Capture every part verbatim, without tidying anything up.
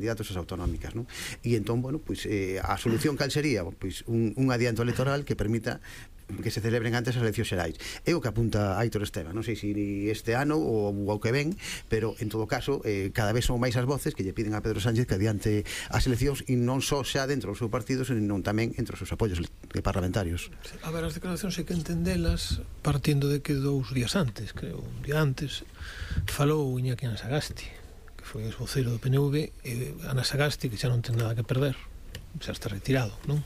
candidatos ás autonómicas, non? E entón, bueno, pois eh, a solución cal sería? Pois un, un adianto electoral que permita que se celebren antes as eleccións xerais. É o que apunta Aitor Esteban, non sei se este ano ou o que ven, pero en todo caso eh, cada vez son máis as voces que lle piden a Pedro Sánchez que adiante as eleccións, e non só xa dentro do seu partido, senón tamén entre os seus apoios parlamentarios. A ver, as declaracións hai que entendelas partindo de que dous días antes, creo, un día antes, falou Iñaki Anasagasti, que foi o voceiro do P N V, e Anasagasti, que xa non ten nada que perder, xa está retirado, non?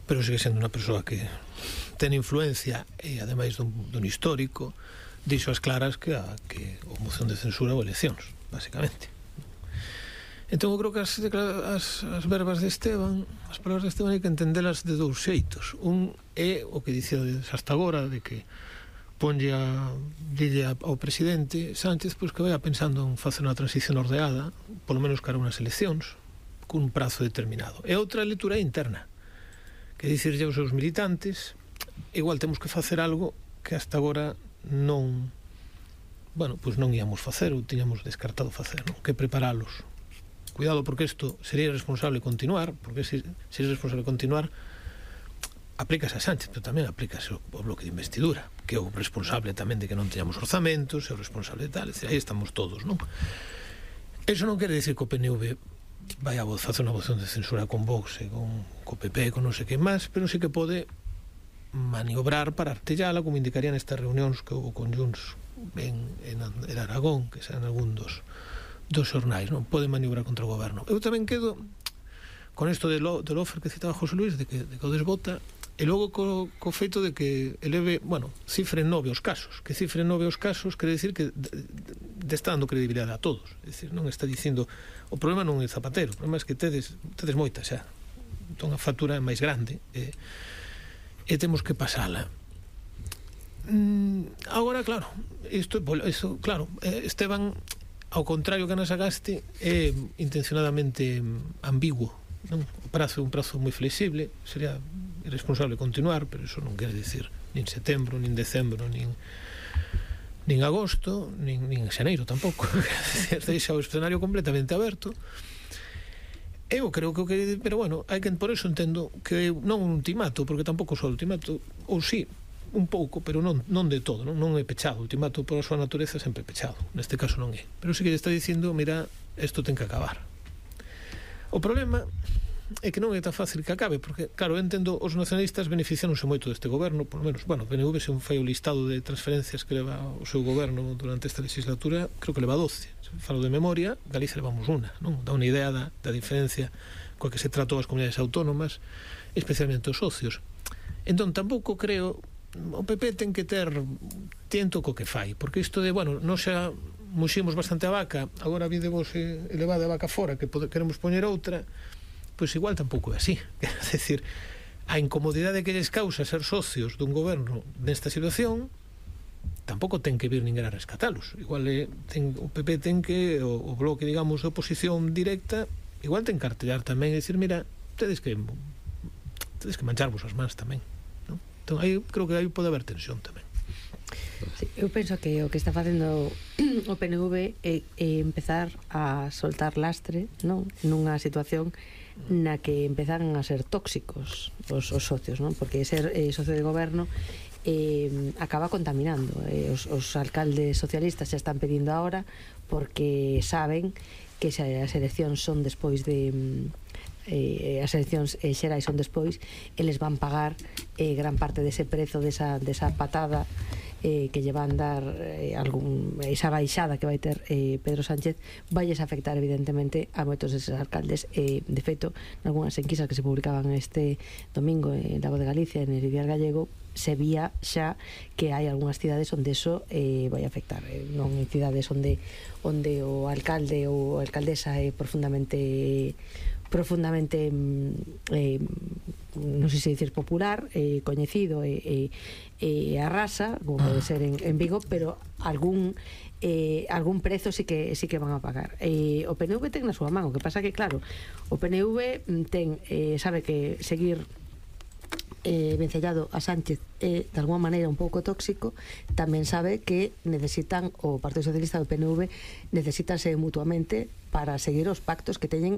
Pero sigue sendo unha persoa que ten influencia e, ademais dun, dun histórico, dixo as claras que, a, que o moción de censura ou eleccións, basicamente. Entón, eu creo que as, as, as verbas de Esteban, as palabras de Esteban, hai que entendelas de dous xeitos. Un é o que dicía hasta agora, de que ponlle a, dille ao presidente Sánchez pois que vaya pensando en facer unha transición ordeada, polo menos cara unhas eleccións, cun prazo determinado. E outra lectura interna, que dicirlle aos seus militantes, igual temos que facer algo que hasta agora non, bueno, pois non íamos facer ou tiñamos descartado facer, non? Que preparalos. Cuidado, porque isto sería irresponsable continuar, porque se, se é irresponsable continuar, aplícase a Sánchez, pero tamén aplícase ao bloque de investidura, que é o responsable tamén de que non teñamos orzamentos, é o responsable de tal, é dicir, aí estamos todos, non? Eso non quere dicir que o P N V vai a facer unha moción de censura con Vox e con, con P P, con non sei que máis, pero sí que pode maniobrar para artellala, como indicarían estas reunións que houve con Junts en, en, en Aragón, que sean algún dos, dos xornais, non? Pode maniobrar contra o goberno. Eu tamén quedo con isto de lo, del offer que citaba José Luis, de que, de que o desbota, e logo co, co feito de que eleve, bueno, cifre nove os casos, que cifre nove os casos quere dicir que de, de está dando credibilidade a todos, é dicir, non está dicindo o problema non é Zapatero, o problema é que tedes, tedes moita xa, entón a factura é máis grande e, e temos que pasala. mm, agora, claro, isto, isto claro, Esteban, ao contrario que Anasagasti, é intencionadamente ambiguo, non? O prazo é un prazo moi flexible, sería irresponsable continuar, pero iso non quere dicir nin setembro, nin decembro, nin nin agosto, nin, nin xaneiro tampouco. Deixa o escenario completamente aberto. Eu creo que o que, pero bueno, hai que, por eso entendo que non un ultimato, porque tampouco só ultimato, ou sí, un pouco, pero non, non de todo, non, non é pechado. O ultimato por a súa natureza é sempre pechado, neste caso non é, pero sí que lle está dicindo, mira, isto ten que acabar. O problema é que non é tan fácil que acabe, porque, claro, eu entendo, os nacionalistas beneficiaronse moito deste goberno, por lo menos, bueno, o P N V se un fai o listado de transferencias que leva o seu goberno durante esta legislatura, creo que leva doce. Se falo de memoria, Galicia levamos unha, non? Dá unha idea da, da diferencia coa que se tratou as comunidades autónomas, especialmente os socios. Entón, tampouco creo, o P P ten que ter tiento co que fai, porque isto de, bueno, non xa muximos bastante a vaca, agora videmos elevada a vaca fora, que pode, queremos poñer outra, pois igual tampouco é así. Quero decir, a incomodidade que lles causa ser socios dun goberno nesta situación tampouco ten que vir ninguén a rescatalos. Igual é, ten, o P P ten que, o, o bloque, digamos, de oposición directa, igual ten que cartellar tamén e dicir, mira, tedes que tedes que mancharvos as mans tamén, non? Entón, aí creo que aí pode haber tensión tamén. Sí, eu penso que o que está facendo o P N V é, é empezar a soltar lastre, non? Nunha situación na que empezan a ser tóxicos os, os socios, non? Porque ser eh, socio de goberno eh, acaba contaminando. Eh, os, os alcaldes socialistas xa están pedindo ahora porque saben que se as eleccións son despois de eh, as eleccións eh, xerais son despois, eles van pagar eh, gran parte dese prezo desa, desa patada eh, que lle van dar eh, algún, esa baixada que vai ter eh, Pedro Sánchez, vai afectar evidentemente a moitos deses alcaldes. Eh, de feito, nalgúnas enquisas que se publicaban este domingo en La Voz de Galicia, en el Ideal Gallego, se vía xa que hai algunhas cidades onde eso eh, vai afectar, eh, non en cidades onde onde o alcalde ou a alcaldesa é profundamente profundamente eh, non sei se dicir popular, eh, coñecido e eh, eh, arrasa, como pode ser en, en Vigo, pero algún eh, algún prezo sí que sí que van a pagar. Eh, o P N V ten na súa man, o que pasa que claro, o P N V ten eh, sabe que seguir eh, vencellado a Sánchez é de alguma maneira un pouco tóxico, tamén sabe que necesitan, o Partido Socialista do P N V necesitanse mutuamente para seguir os pactos que teñen